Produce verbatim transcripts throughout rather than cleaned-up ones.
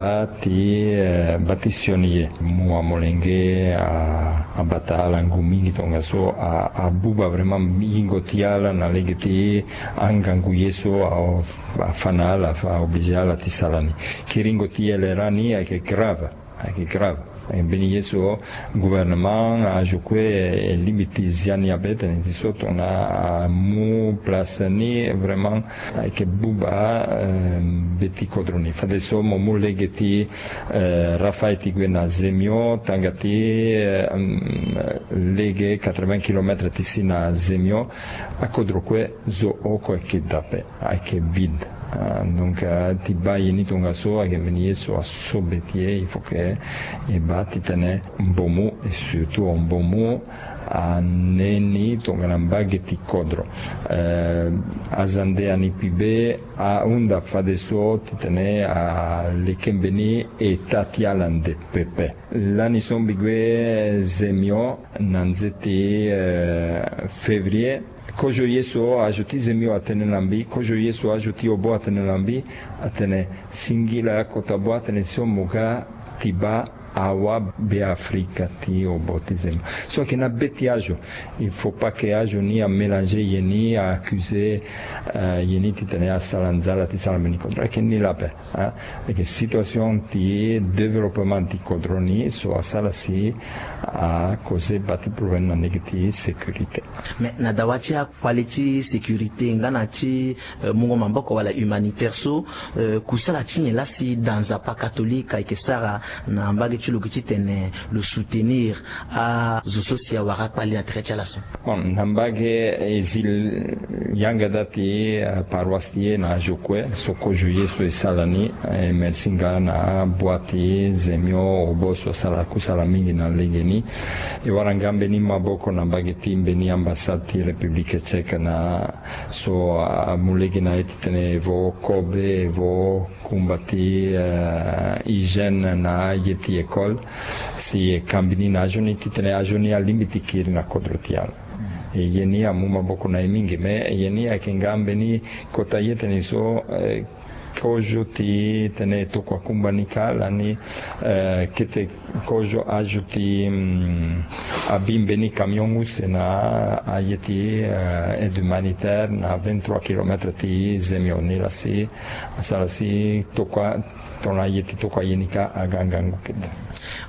Ti bati sioni ye mu amolenge abata ala ngu mingi tongaso abuba vraiment yingo ti ala na lege ti angangu ye so afa na ala afa oblige ala ti sala ni. Kiringo ti ye lera ni ayeke grave. Ayeke grave. Mbeni ye so gouvernement azo kue elingbi ti zia ni abe tene ti so tongana amu place ni vraiment ayeke buba. Be ti kodro ni fadeso mo mu lege ti rafa ti gue na zemio tanga ti lege quatre-vingts kilomètres ti si na zemio. Akodro kue zo oko ayeke dape ayeke vide. Donc ti baa ye ni tongaso ayeke mbeni ye so aso be ti e il faut que e baa titene mbomu et surtout mbomu ane ni tongana mbage ti kodro. Azande ani kpi be ahunda fadeso titene aleke mbeni eta ti ala nde pepe. Lani so mbi gue zemio na nze ti février. Kozo ye so azo ti zemio atene na mbi kozo ye so azo ti obo atene na mbi atene singila kota bo atene so mo ga ti baa awa be afrika ti obo ti zemio so ayeke na be ti azo. Il faut pas que azo ni amélanger ye ni aaccuser ye ni titene asala nzala ti sala mbeni kodro ayeke ni lape. Ayeke situation ti développement ti kodro ni so asala si akoze bati problème na lege ti sécurité. Mais na dawa ti akpale ti sécurité nga na ti mungo maboko wala humanitaire so kusala ti nyen laa si da nzapa catholique ayeke sara na mbage ti lo gi titene lo soutenir azo so si awara akpale na tere ti ala so? Bon na mbage e zi yanga da ti paroisse ti e na azo kue so kozo ye so e sala ni. E merci nga na abua ti zemio obo so asala kusala mingi na lege ni. E wara nga mbeni maboko na mbage ti mbeni ambassade ti république tchèque na so amu lege na ye titene e vo kobe e vo kumba ti hygiène na aye ti école si e kambi ni na azo ni titene azo ni alingbi ti kiri na kodro ti ala. E ye ni amu maboko na e mingi mais ye ni ayeke nga mbeni kota ye tene so kozo ti tene e tokua kumba ni kâ lani kete kozo azo ti abi mbeni camion use na aye ti aide humanitaire na vingt-trois kilomètres ti zemio ni laa si asara si tokua tongana ye ti tokua ye ni kâ aga ngangu kete.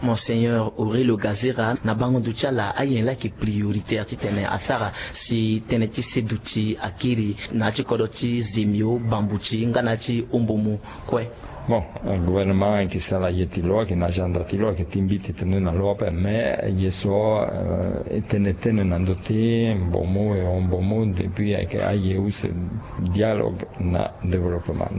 Monseigneur Aurelio Gazera, na bango ndo ti ala ayen laa ayeke prioritaire titene asara si tënë ti seduti akiri na ya ti kodro ti zemio bambuti nga na ya ti ombomu kue? Bon, gouvernement ayeke sara ye ti lo ayeke na agenda ti lo ayeke ti mbi ti tene na lo ape mais ye so e tene tene na ndö ti mbomu e ombomu depuis ayeke aye use dialogue na développement.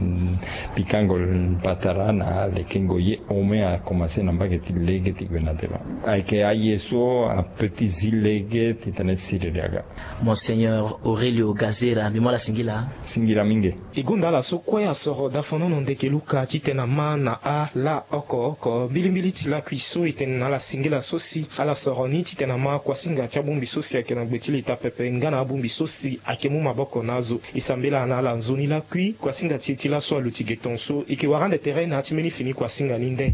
Pikango patara na lekengo ye au moins a commencé na mbage ti lege ti gue na devant. Ayeke aye so ape ti zi lege titene siriri aga. Monseigneur Aurelio Gazera, mbi mu ala singila. Singila mingi. E gonda ala so kue asoro dafanono ndeke luka titene ama na ala oko oko mbilimbili ti lakui so e tene na ala singila so si ala soro ni titene ama kuasinga ti abongbi so si ayeke na gbe ti leta pepe nga na abongbi so si ayeke mu maboko na azo. E sambela na ala nzoni lakui kuasinga ti e ti laso aluti ge tonso e yeke wara ande tere na ya ti mbeni fini kuasinga ni nde.